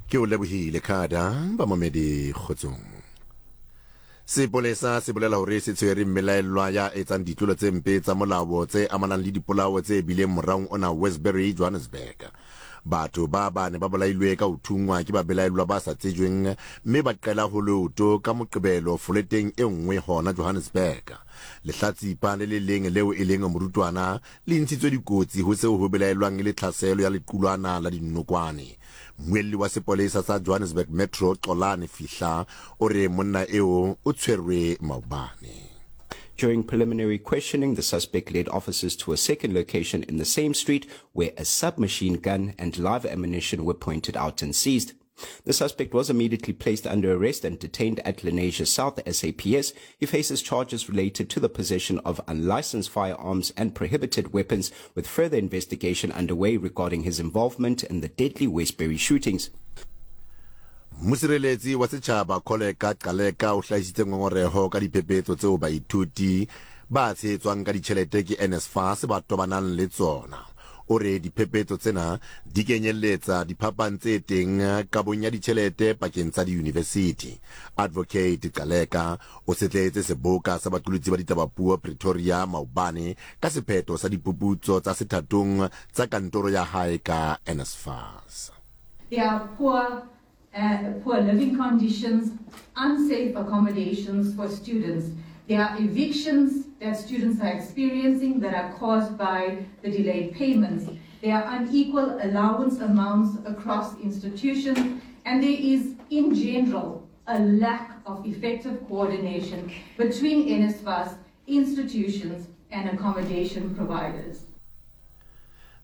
Ke o lebohile Khada, bamamedi kgotsong. Sepolesa se bolela hore se tshwere mmelaellwa ya etsang ditlolo tse mpe tsa molao tse amanang le dipolao tse bileng moraong ona Westbury, Johannesburg. Batho ba bane ba bolailwe ka ho thunngwa ke babelaellwa ba sa tsejweng mme ba qela ho leoto ka Moqebelo foleteng e nngwe hona Johannesburg. Lehlatsipa le le leng leo e leng morutwana le ntshitswe dikotsi ho seo ho belaellwang e le tlhaselo ya lequlwana la dinokwane. Mmuelli wa sepolesa sa Johannesburg Metro, Xolani Fihla, o re monna eo o tshwerwe maobane. During preliminary questioning, the suspect led officers to a second location in the same street where a submachine gun and live ammunition were pointed out and seized. The suspect was immediately placed under arrest and detained at Lenasia South SAPS. He faces charges related to the possession of unlicensed firearms and prohibited weapons, with further investigation underway regarding his involvement in the deadly Westbury shootings. Mosireletsi wa setjhaba Kholeka Gcaleka o hlahisitse ngongoreho ka diphephetso tseo baithuti ba tshehetswang ka ditjhelete ke NSFAS ba tobanang le tsona. O re diphephetso tsena di kenyelletsa diphapang tse teng kabong ya ditjhelete pakeng tsa diyunivesithi. Advocate Gcaleka o setlehetse seboka sa baqolotsi ba ditabapuo Pretoria maobane ka sephetho sa dipuputso tsa sethatong tsa kantoro ya hae ka NSFAS. There are poor poor living conditions, unsafe accommodations for students. There are evictions that students are experiencing that are caused by the delayed payments. There are unequal allowance amounts across institutions, and there is, in general, a lack of effective coordination between NSFAS, institutions, and accommodation providers.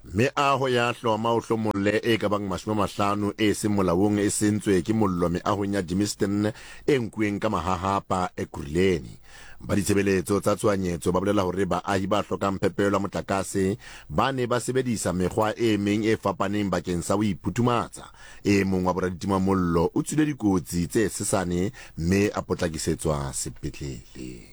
Meaho ya hloma o hlomolle e ka bang 50 e seng molaong e sentswe ke mollo meahong ya Germiston e nkuweng ka mahahapa Ekurhuleni. Ba ditshebeletso tsa tshohanyetso ba bolela hore baahi ba hlokang phepelo ya motlakase ba ne ba sebedisa mekgwa e meng e fapaneng bakeng sa ho iphuthumatsa. E mong wa boraditimamollo o tswile dikotsi tse sesane mme a potlakisetswa sepetlele.